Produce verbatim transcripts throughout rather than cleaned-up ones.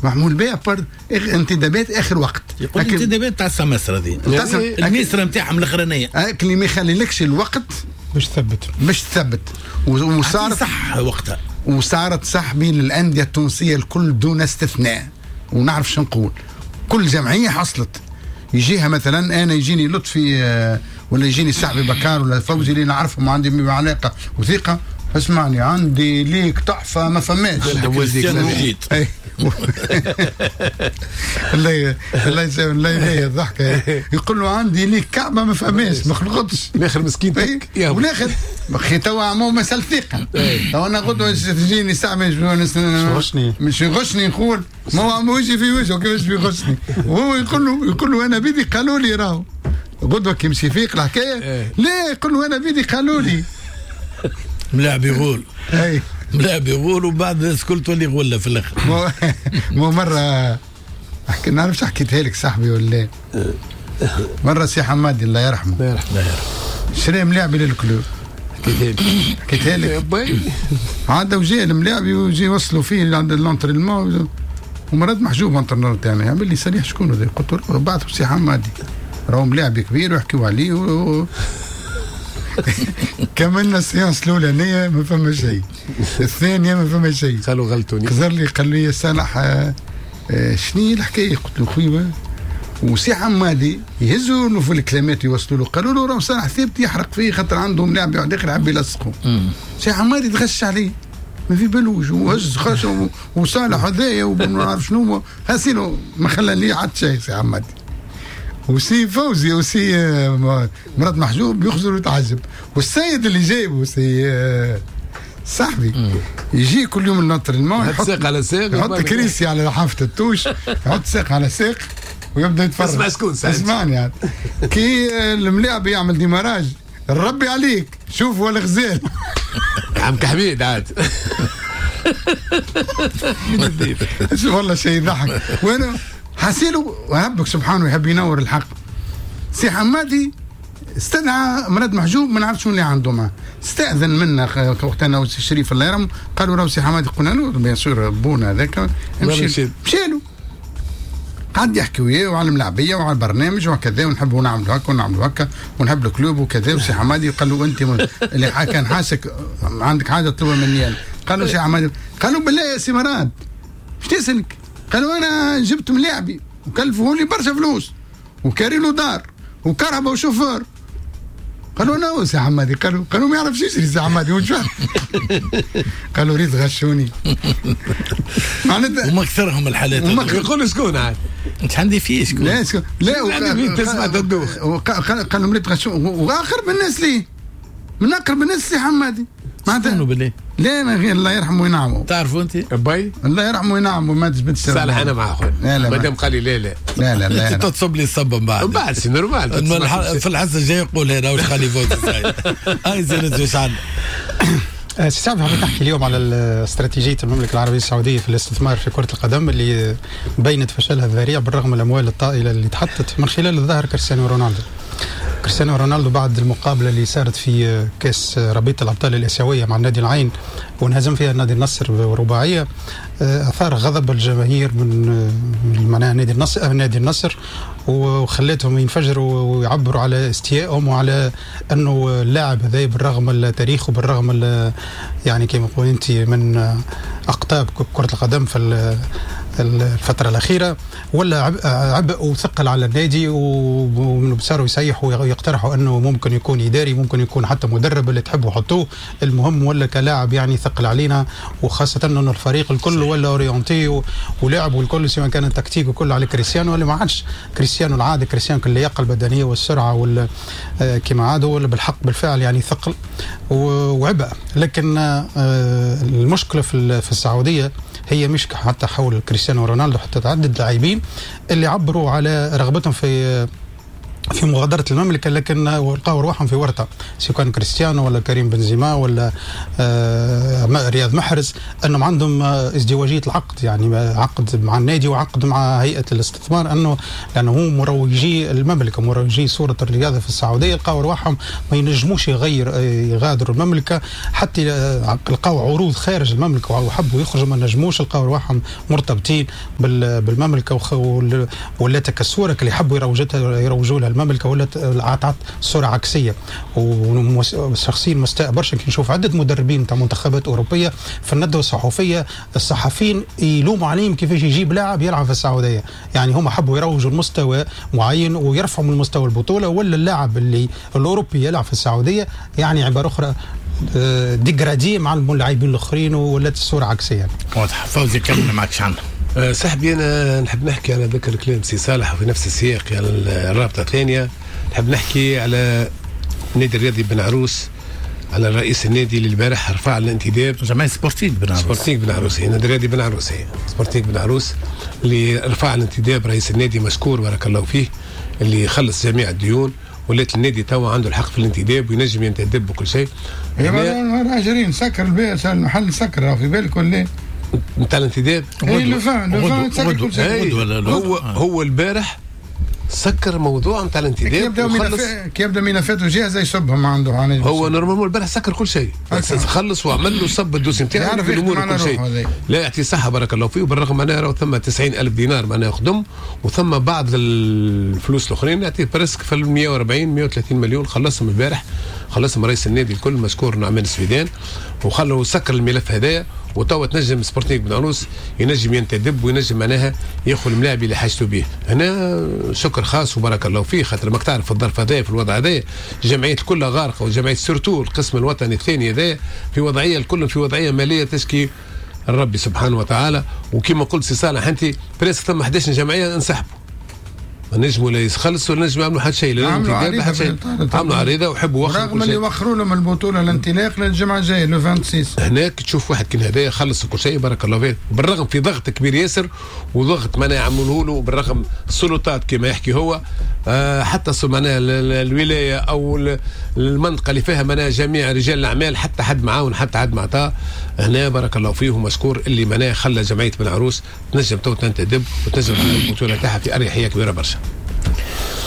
معمول بها par انتدابات اخر وقت. يقول انتدابات تاع السمسره هذه الميسره نتاعهم الاخرانية، لكن اللي ما يخليلكش الوقت باش تثبت باش تثبت. وصارت صح وقتها، وصارت صح بين الاندية التونسية الكل دون استثناء. ونعرف شو نقول، كل جمعية حصلت يجيها مثلا انا يجيني لطفي ولا يجيني سعبي بكار ولا فوزي اللي نعرفهم وعندي علاقة وثيقة، اسمعني عندي ليك تحفة ما فماش. الله الله يسلم الله يهديه الضحكة. يقول له عندي ليك كعبه ما فماش ما خلقتش. الاخر مسكين والاخر اخي توا مو مسألة ثقة. تو انا غدوه تجيني ساعة مش مش يغشني، نقول ما هو عم وجهي في وجهه كيفاش بيغشني؟ وهو يقول له يقول له انا بيدي قالوا لي راهو غدوه كي يمشي فيق الحكاية لا يقول له انا بيدي قالوا لي. ملاعب يغول. اي ملاعب يغول وبعد الناس الكل تولي غله في الاخر. مو مرة احكي نعرفش حكيتها لك صاحبي ولا مرة سي حمادي الله يرحمه الله يرحمه شرى ملاعبي لل club. حكيتها لك حكيتها لك عاد وجاء الملاعبي وجي وصلوا فيه عند l'entraînement ومراد محجوب entraîneur تاعنا يعمل لي صريح شكون هذا؟ قلت له بعثوا سي حمادي راهو ملاعبي كبير ويحكيوا عليه و... كملنا ال séance الاولانية ما فما شيء، الثانية ما فما شيء، قالوا غلطوني. خزر لي قال لي صالح آه شنو هي الحكاية؟ قلت له خويا وسي حمادي يهزوا له في الكلامات يوصلوا له، قالوا له راه صالح ثابت يحرق فيه خاطر عندهم لاعب واحد اخر يحب يلصقوا. سي حمادي تغش عليه ما في بالوش وهز خش وصالح هذايا وما نعرف شنو هاسينو ما خلى لي عاد شيء سي حمادي. وسي فوزي وسي مراد محجوب يخزر ويتعجب، والسيد اللي جايبه سي صاحبي يجي كل يوم l'entraînement يحط ساق على ساق، يحط كريسي على حافة ال touche، يحط ساق على ساق ويبدا يتفرج. اسمع شكون اسمعني يعني. كي الملاعب يعمل démarrage ربي عليك شوف ولا غزال عم كحميد عاد والله شيء يضحك. وانا حسيله وربك سبحانه يحب ينور الحق. سي حمادي استدعى مراد محجوب ما نعرفش شنو اللي عنده معاه، استاذن منا وقت انا وسي شريف الله يرحمه، قالوا راهو سي حمادي، قلنا له bien sûr بونا هذاك مشي مشى له قعد يحكي وياه وعلى الملاعبيه وعلى البرنامج وكذا ونحبوا نعملوا هكا ونعملوا هكا ونحب ال club وكذا. وسي حمادي قال له انت اللي كان حاسك عندك حاجة تطلبها مني انا. قالوا سي حمادي، قالوا بالله يا سي مراد اش تسالك؟ قالوا انا جبت ملاعبي وكلفوا لي برشا فلوس وكاري له دار وكهرباء وشوفور. قالوا انا سي حمادي، قالوا قالوا ما يعرفش يشري سي حمادي وش قالوا ريت غشوني معناتها. وما اكثرهم الحالات. يقولوا شكون عاد؟ انت عندي فيه شكون؟ لا شكون لا تسمع تدوخ. قالوا ريت غشوني واقرب الناس ليه من اقرب الناس سي حمادي معناتها بالله. لا ما غير الله يرحمه وينعمه. تعرفوا انت؟ باي الله يرحمه وينعمه ما تجبدش صالح انا مع خويا مادام قال لي لا لا لا لا لا انت تصب لي الصب من بعد من بعد c'est normal. في الحصة الجاية يقول هنا واش خلي فوز هاي زين واش عندنا. سي سعد حبيت نحكي اليوم على استراتيجية المملكة العربية السعودية في الاستثمار في كرة القدم اللي بينت فشلها الذريع بالرغم من الأموال الطائلة اللي تحطت من خلال الظاهر كريستيانو رونالدو. كريستيانو رونالدو بعد المقابلة اللي صارت في كأس رابطة الأبطال الآسيوية مع النادي العين وانهزم فيها النادي النصر برباعية، أثار غضب الجماهير من معناها نادي النصر نادي النصر وخلتهم ينفجروا ويعبروا على استيائهم وعلى أنه اللاعب هذا بالرغم من التاريخ وبالرغم يعني كما نقول أنت من أقطاب كرة القدم في الفترة الأخيرة ولا عبء وثقل على النادي، وصاروا يسيحوا ويقترحوا أنه ممكن يكون إداري، ممكن يكون حتى مدرب اللي تحبوا حطوه، المهم ولا كلاعب يعني ثقل علينا، وخاصة أنه الفريق الكل ولا orienté ولعب والكل سواء كان التكتيك وكله على كريستيانو، اللي ما عادش كريستيانو العادي، كريستيانو اللياقة البدنية والسرعة وال كما عاد هو بالحق بالفعل يعني ثقل وعبء. لكن المشكلة في السعودية هي مش حتى حول كريستيانو رونالدو، حتى تعدد لاعبين اللي عبروا على رغبتهم في في مغادرة المملكة، لكن لقاو رواحهم في ورطة، سواء كان كريستيانو ولا كريم بنزيما ولا آه رياض محرز، أنهم عندهم ازدواجية العقد، يعني عقد مع النادي وعقد مع هيئة الاستثمار، أنه لأنه هو مروجي المملكة، مروجي صورة الرياضة في السعودية، لقاو رواحهم ما ينجموش يغير يغادروا المملكة، حتى لقاو عروض خارج المملكة وحبوا يخرجوا ما نجموش، لقاو رواحهم مرتبطين بالمملكة، ولات كالصورة اللي حبوا يروجتها يروجوا لها المملكة، ولات عطات صورة عكسية. وشخصيا مستاء برشا كي نشوف عدة مدربين تاع منتخبات أوروبية في الندوة الصحفية الصحفيين يلوموا عليهم كيفاش يجيب لاعب يلعب في السعودية، يعني هم حبوا يروجوا المستوى معين ويرفعوا من مستوى البطولة، ولا اللاعب اللي الأوروبي يلعب في السعودية يعني عبارة أخرى dégradé مع اللاعبين الآخرين، ولات الصورة عكسية. واضح. فوزي كمل معك شعنا. أه صاحبي أنا نحب نحكي على ذكر كلام سي صالح وفي نفس السياق، يعني الرابطة الثانية نحب نحكي على النادي الرياضي بن عروس، على رئيس النادي اللي البارح رفع الانتداب جمعية سبورتينغ بن عروس، سبورتينغ بن عروس، النادي الرياضي بن عروس، سبورتينغ بن عروس اللي رفع الانتداب رئيس النادي مشكور بارك الله فيه، اللي خلص جميع الديون، ولات النادي توا عنده الحق في الانتداب وينجم ينتدب بكل شيء. راجلين سكر البيع المحل سكر في بالك ولا نتاع الانتداب؟ اي لو فان لو فان سكر كل شيء. هو هو البارح سكر موضوع نتاع الانتداب، كي يبدا ملفاته جاهزة يصبهم عنده. هو normalement البارح سكر كل شيء، خلص وعمل له صب ال dossier نتاعو في الامور كل شيء. لا يعطي صحة بارك الله فيه، وبالرغم معناها راهو ثم تسعين ألف دينار معناها خدم، وثم بعض الفلوس الاخرين يعطيه presque في مية وأربعين مية وثلاثين مليون خلصهم البارح، خلصهم رئيس النادي الكل مشكور نعمان السويدان، وخلوا سكر الملف هذايا. وتوا تنجم سبورتينغ بن عروس ينجم ينتدب وينجم معناها ياخذ الملاعب اللي حاجته به. هنا شكر خاص وبارك الله فيه، خاطر ماك تعرف في الظرف هذايا في الوضع هذايا الجمعيات كلها غارقة، وجمعية surtout القسم الوطني الثاني هذايا في وضعية، الكل في وضعية ماليه تشكي الرب سبحانه وتعالى. وكما قلت سي صالح انت presque ثم إحدى عشرة جمعية انسحبوا، ما نجموا لا يخلصوا ولا نجموا يعملوا حتى شيء، لا عملوا حتى شيء، عملوا عريضة وحبوا وخروا، رغم اللي وخروا لهم البطولة الانطلاق للجمعة الجاية le ستة وعشرين. هناك تشوف واحد كان هدايا خلص كل شيء بارك الله فيه، بالرغم في ضغط كبير ياسر وضغط معناها يعملوه له، بالرغم السلطات كما يحكي هو آه حتى معناها الولاية او المنطقة اللي فيها معناها جميع رجال الاعمال حتى حد معاون حتى حد معطاه. هنا بارك الله فيه ومشكور اللي معناها خلى جمعية بن عروس تنجم تو تنتدب وتنجم البطولة تاعها في اريحية كبيرة برشا.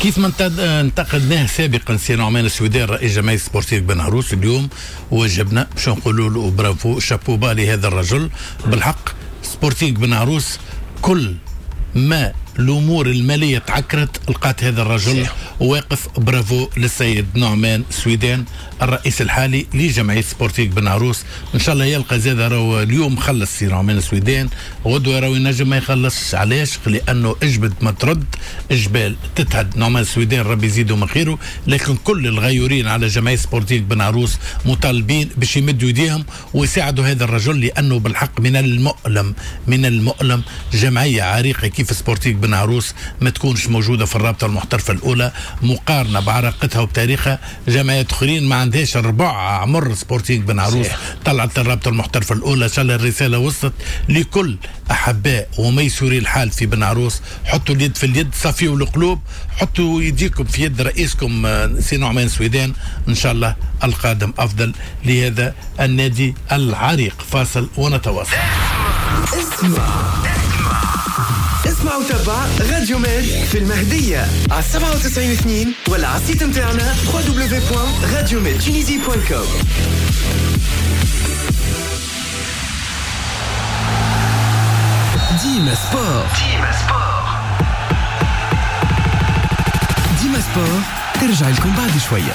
كيف ما انتقدناه سابقا سي نعمان السويدان رئيس جمعية سبورتيف بن عروس، اليوم وجبنا باش نقولوا له bravo chapeau bas لهذا الرجل. بالحق سبورتينغ بن عروس كل ما الامور المالية تعكرت لقات هذا الرجل واقف. برافو للسيد نعمان سويدان الرئيس الحالي لجمعية سبورتيك بن عروس. ان شاء الله يلقى زاد، راهو اليوم خلص سي نعمان سويدان، غدوه راهو ينجم ما يخلصش. علاش؟ لانه اجبد ما ترد جبال تتهد. نعمان سويدان ربي يزيده من خيره، لكن كل الغيورين على جمعية سبورتيك بن عروس مطالبين باش يمدوا يديهم ويساعدوا هذا الرجل، لانه بالحق من المؤلم من المؤلم جمعية عريقة كيف سبورتيك بن عروس ما تكونش موجودة في الرابطة المحترفه الاولى، مقارنة بعراقتها وبتاريخها. جمعيات اخرين ما عندهاش الربع عمر سبورتينغ بن عروس طلعت الرابطة المحترفه الاولى. ان شاء الله الرسالة وصلت لكل احباء وميسوري الحال في بن عروس، حطوا اليد في اليد، صفيوا القلوب، حطوا يديكم في يد رئيسكم سي نعمان سويدان. ان شاء الله القادم افضل لهذا النادي العريق. فاصل ونتواصل. اسمع اسمع وتابع راديو ميد في المهدية على سبعة وتسعين اثنين ولا على ال site متاعنا دبليو دبليو دبليو دوت راديو ميد تونيزي دوت كوم. ديما سبور، ديما سبور، ديما سبور ترجع لكم بعد شوية.